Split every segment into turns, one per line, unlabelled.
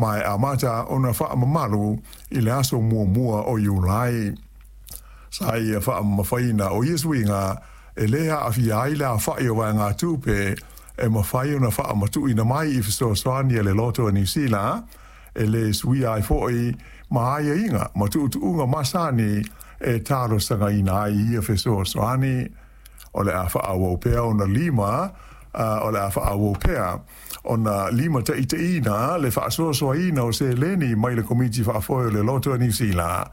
Ma e amata ona faamamalu i le aso 1 o Iulai. Sa ia faamamafaina o ia suiga e lē aafia ai le aofa'i o vaegatupe e mafai ona faamatu'uina mai i fesoasoani a le Loto a Niu Sila, e lē suia ai fo'i ma aiaiga ma tu'utu'uga masani e talosagaina ai ia fesoasoani. O le a faaauau pea ona lima o le a faaauau pea ona limataita'iina le faasoasoaina o seleni mai le Komiti Faafoe o le Loto a Niu Sila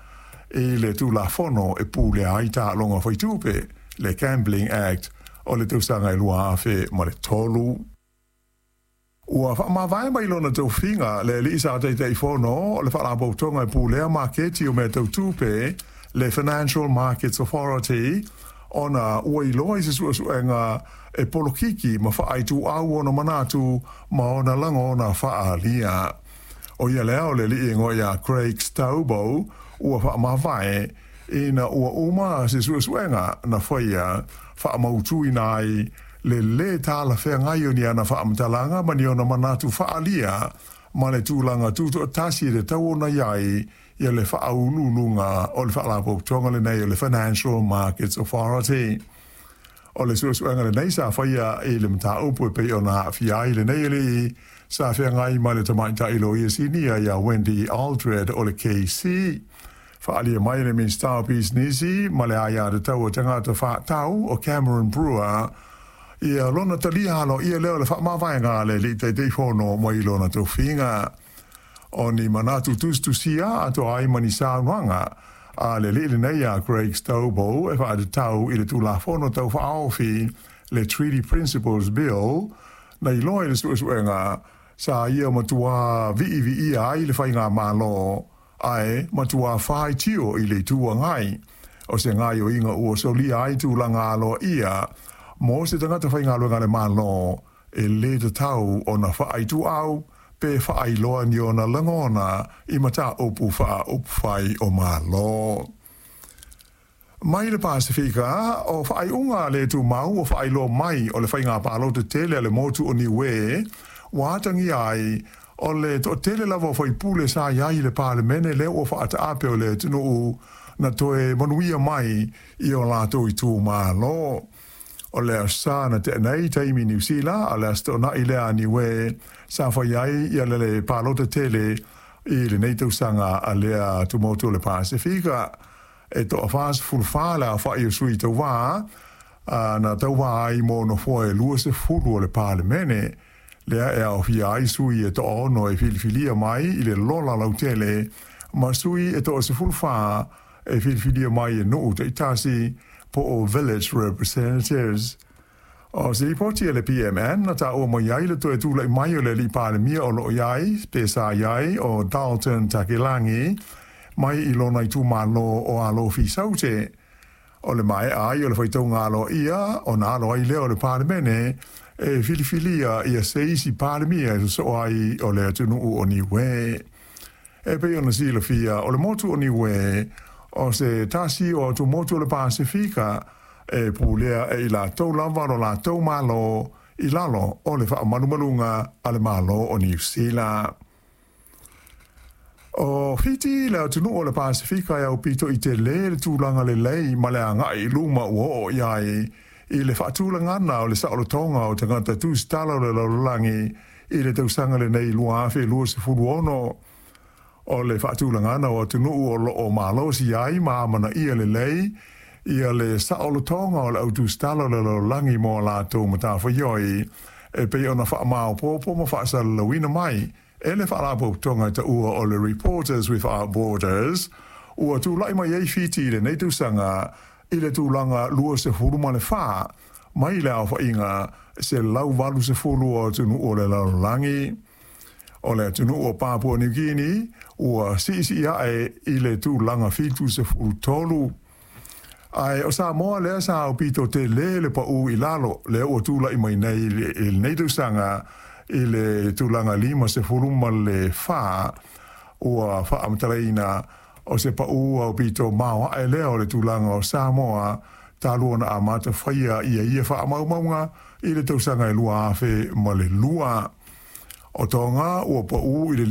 i le Tulafono e Pulea ai Taaloga Faitupe, le Gambling Act o le tausaga e 2003. Ua faamavae mai lona tofiga le alii sa Taitaifono o le Faalapotopotoga e Pulea Maketi o Mea Tau Tupe, le Financial Markets Authority, ona ua iloa i se suesuega e polokiki ma faaituau ona manatu ma ona lagona faaalia. O ia lea o le alii e igoa ia Craig Stobo ua faamavae ina ua uma se suesuega na faia faamautuina ai le lē talafeagai o ni ana faamatalaga ma ni ona manatu faaalia ma le tulaga tutoatasi e tatau ona i ai ia le faauluuluga o le faalapotopotoga lenei o le Financial Markets Authority. O le suesuega lenei sa faia i le mataupu e pei ona aafia ai lenei alii sa feagai ma le tamaitai loia sinia ia Wendy Aldred o le KC. Faaalia mai le Minisita o Pisinisi ma le Aia Tatau a Tagata Faatau o Cameron Brewer ia lona talia aloaia lea o le faamavaega a le alii Taitaifono mai lona tofiga. O ni manatu tusitusia atoa ai ma ni saunoaga a le alii lenei ia Craig Stobo e faatatau i le Tulafono Tau Faaofi, le Treaty Principles Bill, na iloa i le suesuega sa ia matuā viiviia ai le faigamalo ae matuā faitio i le Itu Agai. O se gaoioiga ua solia ai tulaga aloaia mo se tagata faigaluega a le Malo e lē tatau ona faaituau pe faailoa ni ona lagona i mataupu faaupufai o Malo. Mai le Pasefika, o faaiuga le tumau ua faailoa mai o le faiga palota tele a le motu o Niue ua atagia ai o le toatele lava o faipule sa i ai i le Palemene lea ua faataape o le atunuu na toe manuia mai i o latou itumalo. O le Aso Sa na tea nei taimi Niu Sila, a o le Aso Toonai lea a Niue sa fai ai ia le palota tele i lenei tausaga a lea tumotu o le Pasefika. E toa-44 le aofa'i o sui tauvā na tauvā ai mo nofoa e 20 o le Palemene, lea e aofia ai sui e toa-6 e filifilia mai i le lola lautele ma sui e toa-14 e filifilia mai e nuu taitasi po o village representatives. O se lipoti a le PMN na taua mai ai le toe tula'i mai o le alii Palemia o lo'o i ai pe sa i ai o Dalton Tagelagi mai i lona itumalo o Alofi Saute. O le maea ai o le faitauga aloaia ona alo ai lea o le Palemene e filifilia ia se isi Palemia e sosoo ai o le atunuu o Niue. E pei ona silafia, o le motu o Niue o se tasi o atumotu o le Pasefika e pulea e i latou lava lo latou Malo i lalo o le faamalumaluga a le Malo o Niu Sila. O Fiti le atunuu o le Pasefika e aupito i telē le tulaga lelei ma le agai i luma ua oo i ai i le faatulagana o le saolotoga o tagata tusitala o le lalolagi i le tausaga lenei 2026. O le faatulagana o atunuu o lo o malosi ai ma amanaia lelei ia le saolotoga o le au tusitala o le lalolagi mo a latou matafaioi e pei ona faamaopoopo ma faasalalauina mai e le faalapotopotoga e taua o le Reporters Without Borders, ua tula'i mai ai Fiti i lenei tausaga i le tulaga 24 mai le aofaiga 180 o atunuu o le lalolagi. O le atunuu o Papua Niu Kini ua siisii ae i le tulaga 73. Ae o Samoa lea sa aupito telē le paū i lalo, lea ua tula'i mai nei i lenei tausaga i le tulaga 54, ua faamatalaina o se paū aupito maoaʻe lea o le tulaga o Samoa talu ona amata faia ia ia faamaumauga i le tausaga e 2002. O Toga ua paū i le